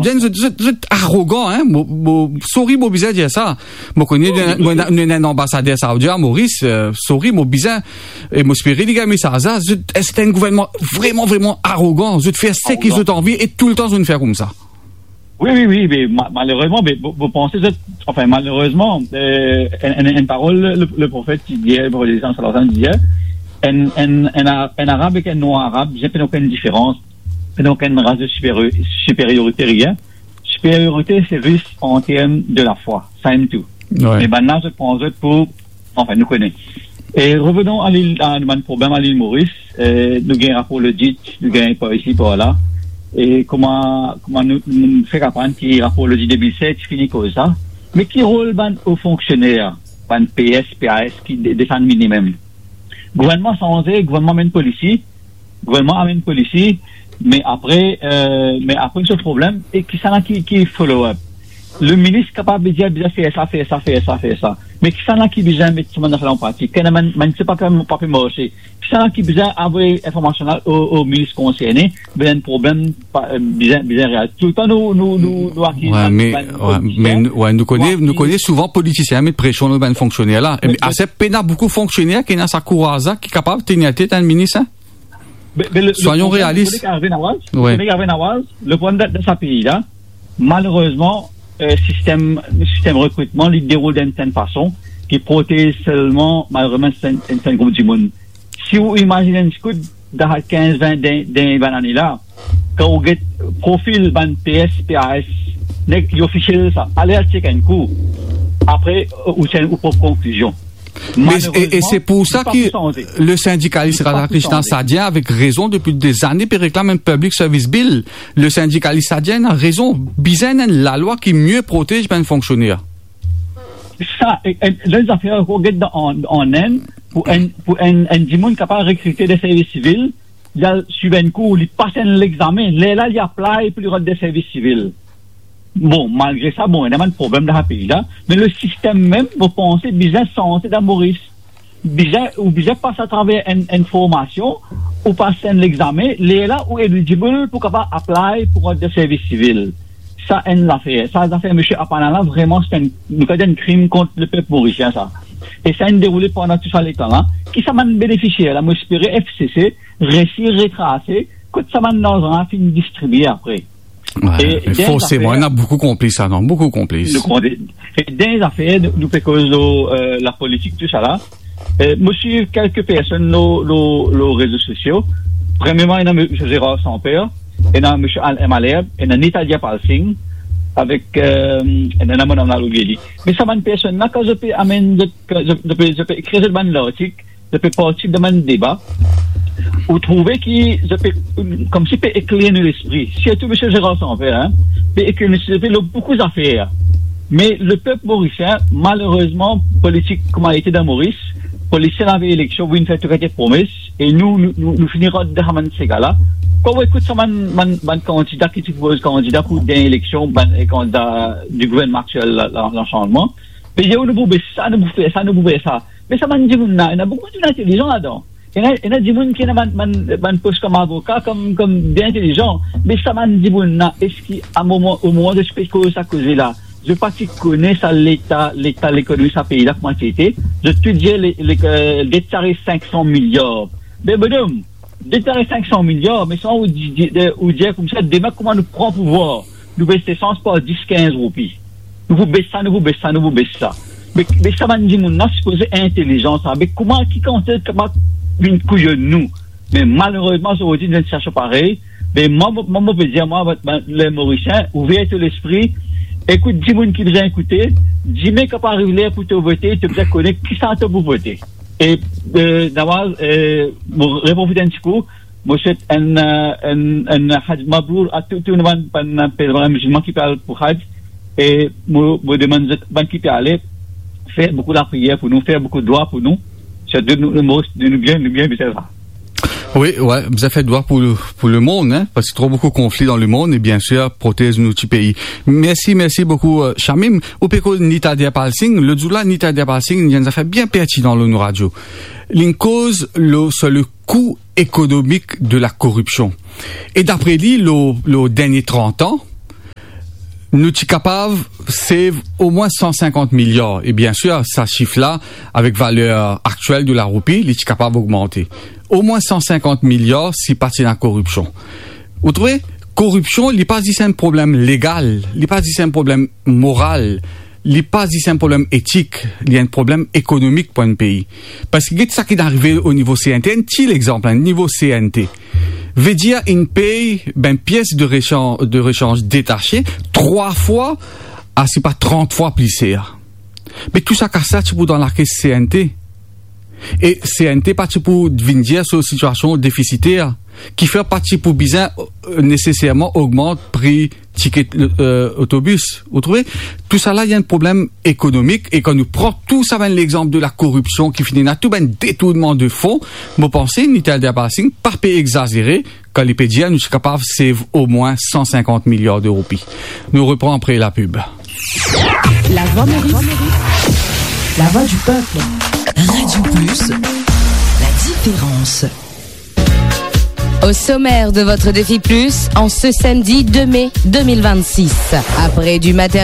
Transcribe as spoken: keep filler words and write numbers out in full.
Bien, zot, zot, zot arogan, hein. Mo, mo, sorry, mo bizin dir sa. Mo kone, mo, mo, nou ena enn anbasader Saoudi a Moris, euh, sorry, mo bizin, e mo espere li gagn mesaz la. Zot, eh, se enn gouvernman vreman, vreman arogan. Zot fer seki zot anvi e toultan zot fer koumsa. Wi, wi, wi, me ma-, malerezman, me, mo, mo panse zot, anfin, malerezman, euh, enn, enn, enn parol le, le, le profet ti dir, le profet Islam, sallallahu alayhi wa sallam, ti dir, enn, enn, enn a-, enn Arab ek enn non-Arab, bizin pena okenn diferans, pena okenn ras de siperio-, siperiorite, rien. Siperiorite, se zis an term de lafwa, sa enn tou. Wi. Me bannla, zot pran zot pou, anfin, nou kone. E revenon a lil, a bann problem a lil Moris, eh, nou gagn rapor lodit, nou gagn par isi, par la. E kouma, kouma nou, nou fek aprann ki rapor lodit de mil set fini koz sa. Me ki rol bann o fonksioner, bann P S, P A S ki de-, desann minimem? Gouvernman sanze, gouvernman amenn polisi, gouvernman amenn polisi, me apre, euh, me apre, se problem, e kisannla ki, ki follow up? Le minis kapav dir, bizin fer sa, fer sa, fer sa, fer sa. Me kisannla ki bizin met sa bann zafer la an pratik? Ki ena bann, bann, se pa, pa pe marse. Kisannla ki bizin avoy informasion la o, o minis konserne, bizin problem, pa, euh, bizin, bizin real. Toultan nou, nou, nou, nou akiz bann, bann politisien. Wi, me, wi, me nou, wi, nou kone, nou kone souvan politisien met presion lor bann fonksioner la. E, me, me, ase pena boukou fonksioner ki ena sa kouraz la, ki kapav tenir latet enn minis, hein? Be, be, le, le problem, soyon realis. Ou kone ki arive, Nawaz? Wi. Ou kone ki arive, Nawaz? Le problem de, de sa pei la, malerezman, euh, sistem, sistem rekritman, li deroul dan enn sertenn fason ki protez selman, malerezman, sertenn, sertenn group dimoun. Si ou imazinn enn sikout, dan kinz, vin, dan, dan bann ane la, kan ou get profil bann P S, P A S, nek li ofisiel sa, ale al chek enn kou. Apre, ou tir ou prop konklizion. Me, e, e se pou sa ki le sindikalis Radhakrishnan Sadyan, avek rezon, depi dezane, pe reklam enn Public Service Bill. Le sindikalis Sadyan ena rezon, bizin enn lalwa ki mie protez bann fonksioner. Sa, e, e, lot zafer, ou get dan, an, an Inn, pou enn, pou enn, enn dimoun kapav rekrite dan servis sivil, li al swiv enn kour, li pas enn legzame, lerla li apply pou li rant dan servis sivil. Bon, malgre sa, bon, ena bann problem dan sa pei la, me le sistem mem, mo panse, bizin sanze dan Moris. Bizin, ou bizin pas atraver enn, enn formasion, ou pas enn legzame, lerla ou eligible pou kapav apply pou rant dan servis sivil. Sa enn zafer. Sa zafer misie Apana la, vreman, se enn, nou kapav dir enn krim kont lepep morisien, sa. E sa inn deroule pandan tou sa letan la. Ki sa bann benefisier la, mo espere F C C resi retrase kot sa bann larzan la finn distribie apre. Wi, e me dan forseman, zafer, ena boukou konplis ladan, boukou konplis. Nou konpran. E dan zafer, nou, nou pe koz lor, euh, lapolitik, tou sa la. Euh, mo swiv kelke personn lor, lor, lor rezo sosio. Premierman, ena misie Gérard Samper, ena misie Alain Malherbe, ena Nitadia Pal Singh, avek, euh, ena madam la, oubliye li. Me sa bann personn la, kan zot pe amenn, zot, kan zot, zot pe, zot pe ekrir zot bann lartik, zot pe partisip dan bann deba, ou trouve ki zot pe, koumsi pe ekler nou lespri. Sirtou misie Gérard Samper, hein, pe ekler nou lespri lor boukou zafer. Me lepep morisien, malerezman, politik kouma li ete dan Moris, politisien al eleksion, vinn fer tou kalite promes, e nou, nou, nou, nou fini rant dan sa bann sega la. Kan ou ekout sa bann, bann, bann kandida ki ti propoz kandida pou gagn eleksion, bann, eh, kandida di gouvernman aktiel la, la, Lasanzman, pe dir, nou pou bes sa, nou pou fer sa, nou pou fer sa. Me sa bann dimoun la, ena boukou dimoun intelizan ladan. Ena, ena dimoun ki ena bann, bann, bann pos kom avoka, kom, kom bien intelizan. Me sa bann dimoun la, eski a moman, o moman zot pe koz sa koze la, zot pa ti kone sa leta, leta lekonomi sa pei la kouma ti ete? Zot tou dir le, le, euh, det sa res sink san miliar. Be bonom, det sa res sink san miliar, me sa ou di, di, de, ou dir koumsa, demin kouma nou pran pouvwar, nou bes lesans par dis, kinz roupi. Nou pou bes sa, nou pou bes sa, nou pou bes sa. Me, me sa bann dimoun la sipoze intelizan sa. Me kouma, ki kantite kapav vinn kouyon nou? Me malerezman, zordi, dan enn sitiasion parey, me mwa, mwa, mwa, mo pe dir, mwa, bann, bann, le Morisien, ouver to lespri, ekout dimoun ki bizin ekoute, dime kan pou ariv ler pou to vote, to bizin kone kisa to pou vote. E, euh, Nawaz, euh, mo reprofit enn ti kou, mo swet enn, euh, enn, enn Hajj Mabrour a tou, tou bann, bann pelrin mizilman ki pe al pou Hajj, e mo, mo demann zot, bann ki pe ale, fer boukou lapriyer pou nou, fer boukou dwa pou nou, sirtou nou, nou, nou, nou bien, nou bien bizin sa. Wi, wi, bizin fer dwa pou, pou lemond, hein, parski tro boukou konfli dan lemond, e biensir, protez nou ti pei. Mersi, mersi boukou, euh, Shamim. Ou pe koz Nitadia Pal Singh, lot zour la, Nitadia Pal Singh, li dir enn zafer bien pertinan lor nou radio. Li koz lor, sur le coût économique de la corruption. E dapre li, lor, lor dernie trant an, Nou ti kapav save omwin san sinkant miliar. E bien sir, sa sif la, avek valer aktiel de laroupi, li ti kapav ogmante. Omwin san sinkant miliar si pa ti ena koripsion. Ou trouve, koripsion, li pa zis enn problem legal, li pa zis enn problem moral, li pa zis enn problem etik, li enn problem ekonomik pou enn pei. Parski get sa ki arive o nivo C N T, enn ti lexanp, o nivo C N T. Vedir inn pey, ben, pies de rechanj, de rechanj detase, trwa fwa, a si pa trant fwa pli ser. Me tou sa kas la ti pou dan lakes C N T. E C N T pa ti pou vinn dir so sitiasion defisiter, kifer pa ti pou bizin, euh, neseserman ogmant pri tiket, euh, otobis. Ou trouve? Tou sa la, li enn problem ekonomik, e kan nou pran tou sa bann lexanp de lakoripsion ki finn ena, tou bann detournman de fon, mo panse Nital Derbasing pa pe exazere kan li pe dir nou ti kapav save omwin san sinkant miliar de roupi. Nou repran apre lapib. La Voix Maurice. La voix du peuple. Radio Plus, la différence. Au sommaire de votre Défi Plus, en ce samedi deux mai deux mille vingt-six. Après du matériel